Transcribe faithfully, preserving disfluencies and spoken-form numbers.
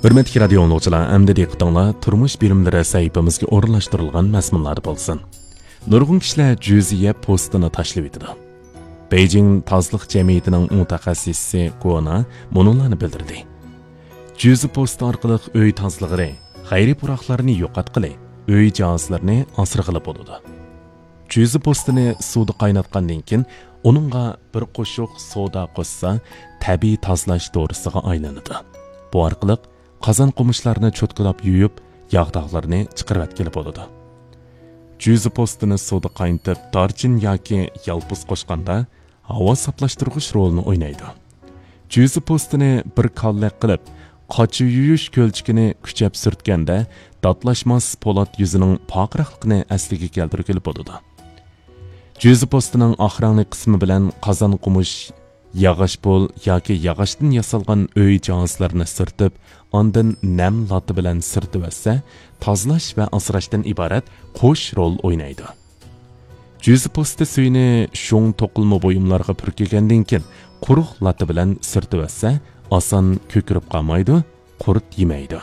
ھۆرمەتلىك رادىيو ئاڭلىغۇچىلار، ئەمدى دىققىتىڭلار تۇرمۇش بىلىملىرى سەھىپىمىزگە ئورۇنلاشتۇرۇلغان مەزمۇنلاردا بولسۇن. نۇرغۇن كىشىلەر جۈزى يەپ پوستىنى تاشلىۋېتىدۇ. بېيجىڭ تازىلىق جەمئىيىتىنىڭ مۇتەخەسسىسى گونا مۇنۇلارنى بىلدۈردى. جۈزى پوستى ئارقىلىق ئۆي تازىلىغىلى، غەيرىي پۇراقلارنى يوقاتقىلى، ئۆي جاھازلىرىنى ئاسرىغىلى بولىدۇ. جۈزى پوستىنى سۇدا قايناتقاندىن كېيىن، ئۇنىڭغا بىر قوشۇق سودا قوشسا، تەبىئىي تازىلاش دورىسىغا ئايلىنىدۇ. بۇ ئارقىلىق قازان قومۇچلارنى چوتكىلاپ يۇيۇپ، ياغ-داغلىرىنى چىقىرىۋەتكىلى بولىدۇ. جۈزى پوستىنى سۇدا قاينىتىپ، دارچىن ياكى يالپۇز قوشقاندا، ھاۋا ساپلاشتۇرغۇچ رولىنى ئوينايدۇ. جۈزى پوستىنى بىر كاللەك قىلىپ، قاچا يۇيۇش كۆلچىكىنى كۈچەپ سۈرتكەندە، داتلاشماس پولات يۈزىنىڭ پارقىراقلىقىنى ئەسلىگە كەلتۈرگىلى بولىدۇ. جۈزى پوستىنىڭ ئاق رەڭلىك قىسمى بىلەن قازان قومۇش، ياغاچ پول ياكى ياغاچتىن ياسالغان ئۆي جاھازلىرىنى سۈرتۈپ، ئاندىن نەم لاتا بىلەن سۈرتۈۋەتسە، تازىلاش ۋە ئاسراشتىن ئىبارەت قوش رول ئوينايدۇ. جۈزى پوستى سۈيىنى شۇڭ توقۇلما بۇيۇملارغا پۈركىگەندىن كېيىن، قۇرۇق لاتا بىلەن سۈرتۈۋەتسە، ئاسان كۆكىرىپ قالمايدۇ، قۇرت يېمەيدۇ.